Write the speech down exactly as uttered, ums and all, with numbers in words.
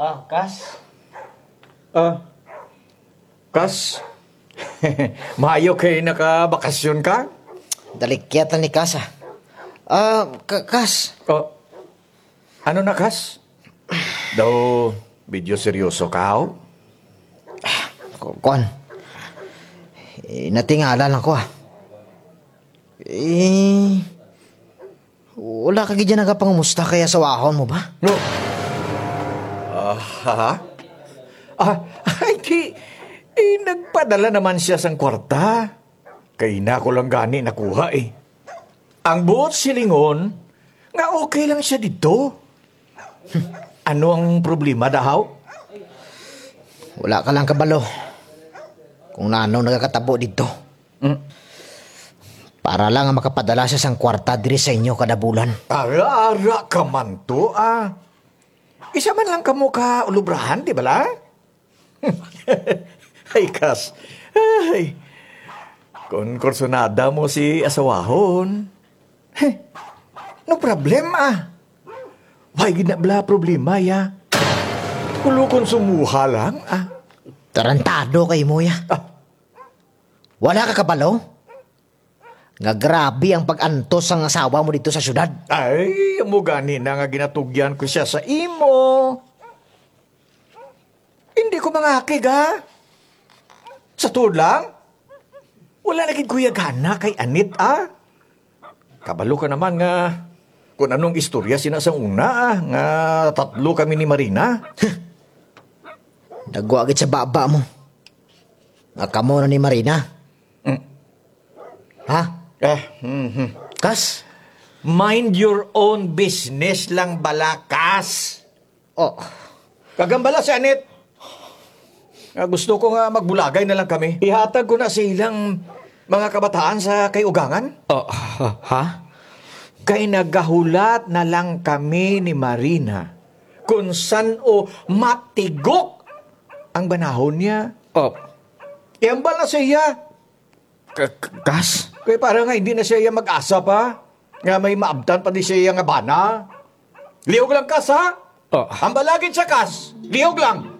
Ah, Kas? Ah, Kas? Maayo kay nakabakasyon ka? Dalikyat na ni Kas, ah. Ah, Ka-, Kas? Oh. Ano na, Kas? Daw, medyo seryoso ka, haw? Ku-, kuwan. Eh, natingala lang ko, ah. Eh, wala ka gid dyan nagapangumusta kay asawahon mo ba? No. Ah, ha? Ah, ay, di, eh, nagpadala naman siya sang kwarta. Kay na ko lang gani nakuha, eh. Ang buot silingon, nga okay lang siya didto. Ano ang problema, da, haw? Wala ka lang kabalo kung nano nagakatabo didto. Mm. Para lang nga makapadala siya sang kwarta diri sa inyo kada bulan. Ara-ara ka man to, ah. Isa man lang kamo ka ulubrahan, di bala? Ay, Kas. Ay. Kon kursunada mo si asawahon. Heh. No problem, ah. Wala gid na bala problema, ya. Kulo konsumoha lang, ah. Tarantado kay mo, ya. Ah. Wala ka kabalo nga grabe ang pag-antos sang asawa mo didto sa syudad? Ay, amo gani na nga ginatugyan ko siya sa imo. Hindi ko mangakig, ha? Sa tuod lang, wala na gid ko ya gana kay Anit, ah. Kabalo ka naman nga kon anong istorya sina sa una, ah, nga tatlo kami ni Marina. Dagwa gid sa baba mo nga kamo na ni Marina. Mm. Ha? Ah, mhm. Kas? Mind your own business lang bala, Kas. Oh. Kag ambala si Anit. Nga gusto ko nga magbulagay na lang kami. Ihatag ko na sa ilang mga kabataan sa kay ugangan. Oh, ha? Kay nagahulat na lang kami ni Marina kon san-o matigok ang banahon niya. Oh. Iambal na sa iya. K-, k-, Kas? Kay para nga hindi na siya iya mag-asa pa. Nga may maabtan pa di siya iya nga bana. Lihog lang, Kas, ha? Oh. Ambala gid siya, Kas. Lihog lang.